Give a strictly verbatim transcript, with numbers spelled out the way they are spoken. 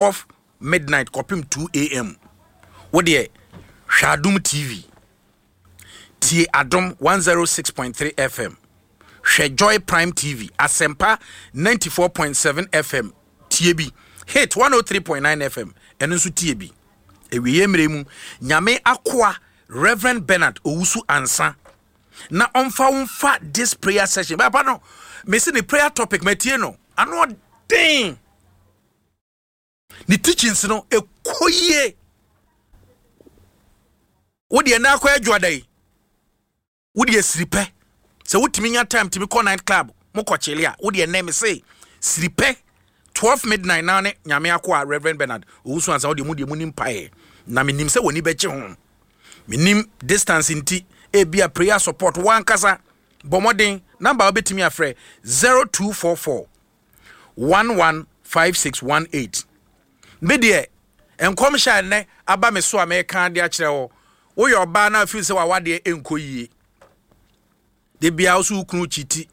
twelve midnight kɔpem two a m. Wo deɛ, hwɛ Adom T V, tie Adom one oh six point three F M, hwɛ Joy Prime T V, Asɛmpa ninety-four point seven F M, tie bi, Hit one oh three point nine F M, ɛno nso tie bi. Awieɛ mmerɛ mu, Nyame akoa Reverend Bernard Owusu Ansa na ɔmfa wo mfa this prayer session. Bɛpa no, mesi ne prayer topic matie no, ano ɔden, ne teachings no ɛkɔ yie. Wodeɛ na akɔ adwoada yi, wodeɛ siri pɛ sɛ wotumi nya time tumi kɔ night club, mokɔ kyele a, wodeɛ nɛ me se siri pɛ twelve midnight na ne Nyame akɔ a Reverend Bernard Owusu Ansa. Wodeɛ mu deɛ mu ni mpaeɛ na menim sɛ w'ani bɛgye ho. Menim distance nti ebia prayer support wankasa bɔ mmɔden. Number a wobɛtumi afrɛ, zero two four four one one five six one eight. Me deɛ, nkɔmhyɛ a nnɛ aba me so a mɛka de akyerɛ wo, woyɛ ɔbaa na afiri sɛ wawadeɛ nkɔ yie, de bia wo so wo kunu kyiti